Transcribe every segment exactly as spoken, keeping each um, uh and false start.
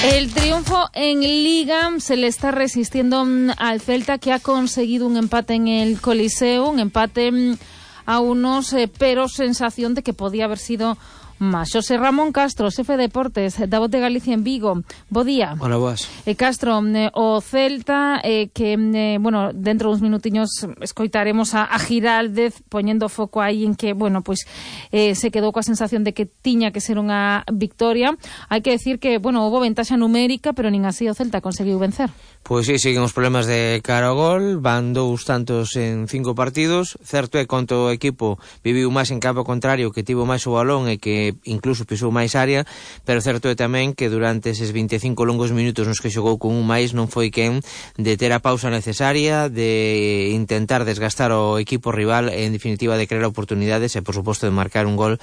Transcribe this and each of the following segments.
El triunfo en Liga se le está resistiendo al Celta, que ha conseguido un empate en el Coliseo, un empate a unos, eh, pero sensación de que podía haber sido más. Xosé Ramón Castro, xefe de Deportes da Voz de Galicia en Vigo. Bo día. Hola, boas. Eh, Castro, eh, o Celta, eh, que, eh, bueno, dentro de uns minutiños escoitaremos a, a Giraldez poñendo foco aí en que, bueno, pues eh, se quedou coa sensación de que tiña que ser unha victoria. Hai que decir que, bueno, houve ventaxa numérica, pero nin así o Celta conseguiu vencer. Pois sí, siguen os problemas de cara ao gol, van dous tantos en cinco partidos. Certo é conto o equipo viviu máis en campo contrario, que tivo máis o balón e que incluso pisou máis área, pero certo é tamén que durante eses vinte e cinco longos minutos nos que xogou con un máis non foi quen de ter a pausa necesaria, de intentar desgastar o equipo rival e en definitiva de crear oportunidades e por suposto de marcar un gol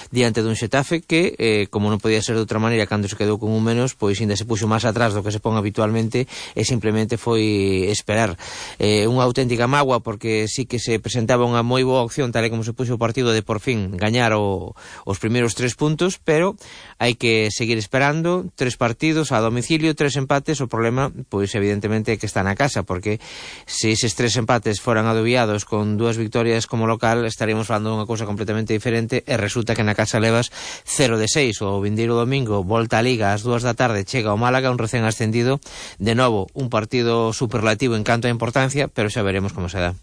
diante dun Xetafe que, eh, como non podía ser de outra maneira cando se quedou con un menos, pois ainda se puxo máis atrás do que se pon habitualmente e simplemente foi esperar. Eh, unha auténtica mágoa porque sí que se presentaba unha moi boa opción tal e como se puxo o partido de por fin gañar o, os primeiros tres puntos, pero hai que seguir esperando. Tres partidos a domicilio, tres empates. O problema, pois evidentemente é que está na casa, porque se eses tres empates foran adobiados con dúas victorias como local, estaríamos falando dunha cousa completamente diferente e resulta que na casa levas cero de seis. O vindeiro domingo volta a Liga ás dúas da tarde, chega ao Málaga, un recén ascendido, de novo un partido superlativo en canto a importancia, pero xa veremos como se dá.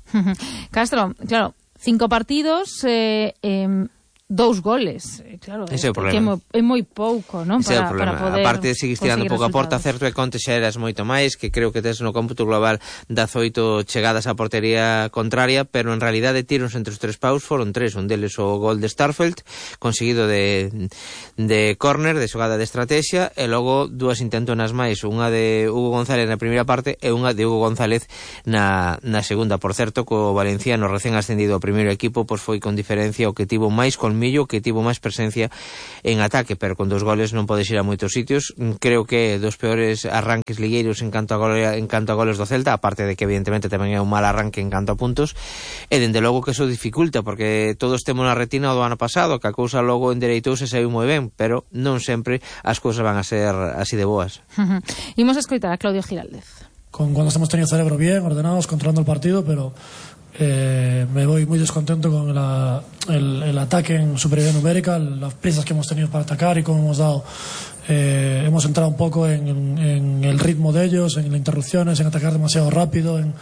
Castro, claro, cinco partidos, eh, eh, dous goles, claro, ese é o problema. Que é, mo, é moi pouco, non? Ese Para, é o problema. para poder aparte seguís tirando pouco a porta, certo é conte xa eras moito máis, que creo que tes no cómputo global dezaoito chegadas á portería contraria, pero en realidade tiros entre os tres paus foron tres, un deles o gol de Starfelt conseguido de, de córner, de xogada de estrategia, e logo dúas intentonas máis, unha de Hugo González na primeira parte e unha de Hugo González na, na segunda. Por certo, co valenciano recén ascendido ao primeiro equipo, pois foi con diferencia o que tivo máis colmillo, que tivo máis presencia en ataque, pero con dos goles non podes ir a moitos sitios. Creo que dos peores arranques ligueiros en canto a goles, en canto a goles do Celta, aparte de que evidentemente tamén é un mal arranque en canto a puntos, e dende logo que eso dificulta, porque todos temos na retina do ano pasado, que a cousa logo endereitouse e saiu moi ben, pero non sempre as cousas van a ser así de boas. Imos a escoitar a Claudio Giraldez. Con cuando hemos tenido cerebro bien, ordenados, controlando el partido, pero Eh, me voy muy descontento con la, el, el ataque en superioridad numérica, las prisas que hemos tenido para atacar y cómo hemos dado eh, hemos entrado un poco en, en el ritmo de ellos, en las interrupciones, en atacar demasiado rápido, en,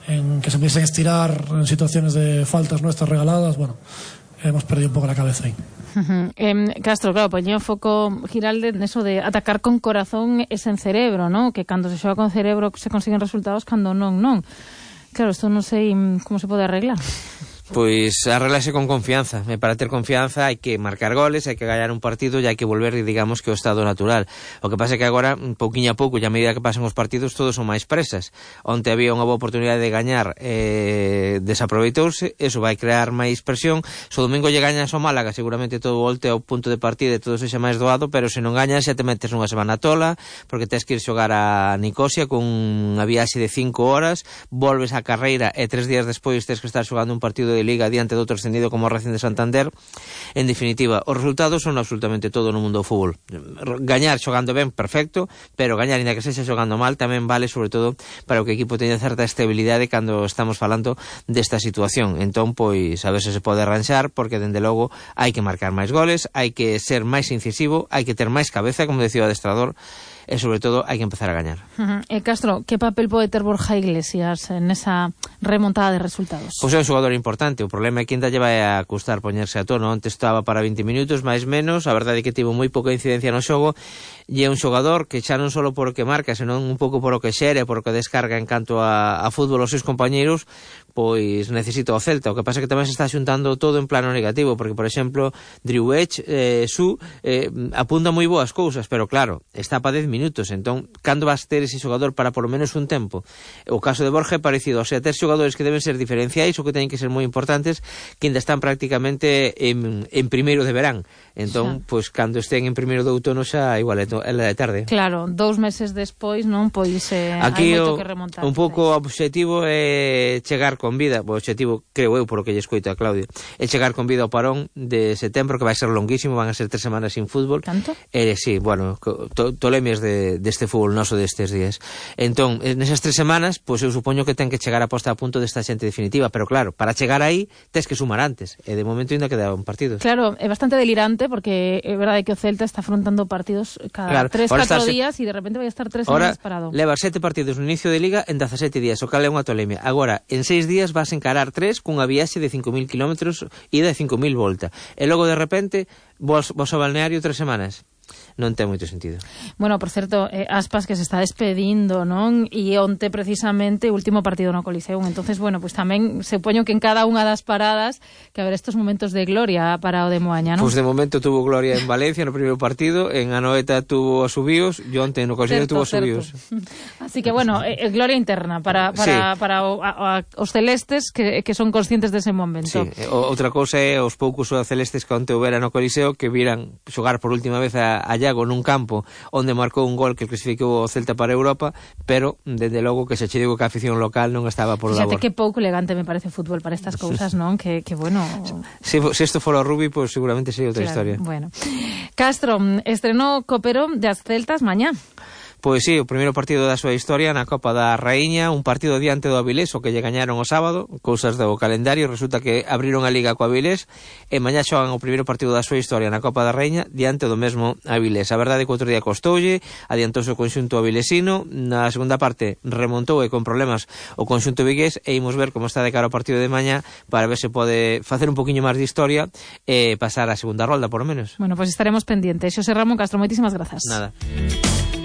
en que se empiecen a estirar en situaciones de faltas nuestras regaladas. Bueno, hemos perdido un poco la cabeza ahí. Uh-huh. Eh, Castro, claro, poñía o foco Giralde neso de atacar con corazón e sen cerebro, ¿no? Que cando se xoga con cerebro se consiguen resultados, cando non, non. Claro, isto non sei como se pode arreglar. Pois arreglase con confianza, e para ter confianza hai que marcar goles, hai que gañar un partido e hai que volver, digamos, que ao estado natural. O que pasa é que agora, pouquiño a pouco, e a medida que pasan os partidos, todos son máis presas. Onte había unha boa oportunidade de gañar, eh, desaproveitouse, eso vai crear máis presión. Se o domingo lle gañas ao Málaga, seguramente todo volte ao punto de partida e todo sexa máis doado, pero se non gañas xa te metes nunha semana tola, porque tens que ir xogar a Nicosia con unha viaxe de cinco horas, volves á carreira e tres días despois tens que estar xogando un partido de Liga diante de outro ascendido como o Racing de Santander. En definitiva, os resultados son absolutamente todo no mundo do fútbol. Gañar xogando ben, perfecto, pero gañar ainda que sexa xogando mal tamén vale, sobre todo para que o equipo teña certa estabilidade cando estamos falando desta situación. Entón, pois, a ver se se pode arranxar, porque dende logo hai que marcar máis goles, hai que ser máis incisivo, hai que ter máis cabeza, como decía o adestrador, e sobre todo hai que empezar a gañar. Uh-huh. E Castro, que papel pode ter Borja Iglesias nesa remontada de resultados? Pois é un xogador importante, o problema é que ainda lle vai a custar poñerse a tono. Onte estaba para vinte minutos, máis menos, a verdade é que tivo moi pouca incidencia no xogo, e é un xogador que xa non só por o que marca, senón un pouco por o que xere, por o que descarga en canto a, a fútbol aos seus compañeiros, pois necesita o Celta. O que pasa é que tamén se está xuntando todo en plano negativo, porque, por exemplo, Drew Edge, eh, Su, eh, apunta moi boas cousas, pero claro, está para dez minutos, entón, cando vas ter ese xogador para polo menos un tempo? O caso de Borja é parecido, o sea, ter xogadores que deben ser diferenciais ou que teñen que ser moi importantes, que ainda están prácticamente en, en primeiro de verán. Entón, xa, pois, cando estén en primeiro de outono xa igual é, é de tarde. Claro, dous meses despois, non? Pois eh, aquí hai moito o, que remontar. Un pouco o obxectivo é chegar con con vida, o objetivo, creo eu, por o que lle escoito a Claudia, é chegar con vida ao parón de setembro, que vai ser longuísimo, van a ser tres semanas sin fútbol. Tanto? Eh, sí, bueno, to, tolemes de, deste fútbol noso destes días. Entón, nesas tres semanas, pois eu supoño que ten que chegar a posta a punto desta xente definitiva, pero claro, para chegar aí, tes que sumar antes, e de momento ainda quedaban partidos. Claro, é bastante delirante, porque é verdade que o Celta está afrontando partidos cada claro, tres, catro se... días, e de repente vai a estar tres ahora semanas parado. Leva sete partidos no inicio de liga en dezasete días, o cal é unha tolemia. Agora, en seis días vas encarar tres cunha viaxe de cinco mil kilómetros ida e cinco mil volta. E logo de repente vos, vos ao balneario tres semanas. Non ten moito sentido. Bueno, por certo, eh, Aspas que se está despedindo, non? E onte precisamente o último partido no Coliseum. Entonces, bueno, pues tamén se poño que en cada unha das paradas que haber estos momentos de gloria para o de Moaña, non? Pois pues de momento tuvo gloria en Valencia no primeiro partido, en Anoeta tuvo os subíos, e onte no Coliseum tuvo os subíos. Así que, bueno, eh, gloria interna para, para, sí. para o, a, a, os celestes que, que son conscientes dese momento. Sí, o, outra cousa é os poucos celestes que onte houbera no Coliseo que viran xogar por última vez a, a Iago nun campo onde marcou un gol que clasificou o Celta para Europa, pero desde logo que se che digo que a afición local non estaba por labor. Fíjate que pouco elegante me parece o fútbol para estas cousas, non? Que, que bueno... Se, se isto fora o rugby, pues seguramente sería outra claro, historia. Bueno. Castro, estrenou Copero de as Celtas mañá. Pois sí, o primeiro partido da súa historia na Copa da Raíña, un partido diante do Avilés, o que lle gañaron o sábado, cousas do calendario, resulta que abriron a Liga co Avilés, e mañá xogan o primeiro partido da súa historia na Copa da Raíña diante do mesmo Avilés. A verdade é que outro día costoulle, adiantouse o conxunto avilesino, na segunda parte remontou e con problemas o conxunto vigués, e imos ver como está de cara ao partido de mañá para ver se pode facer un poquinho máis de historia e pasar a segunda rolda, por lo menos. Bueno, pois pues estaremos pendientes. Xosé Ramón Castro, moitísimas grazas. Nada.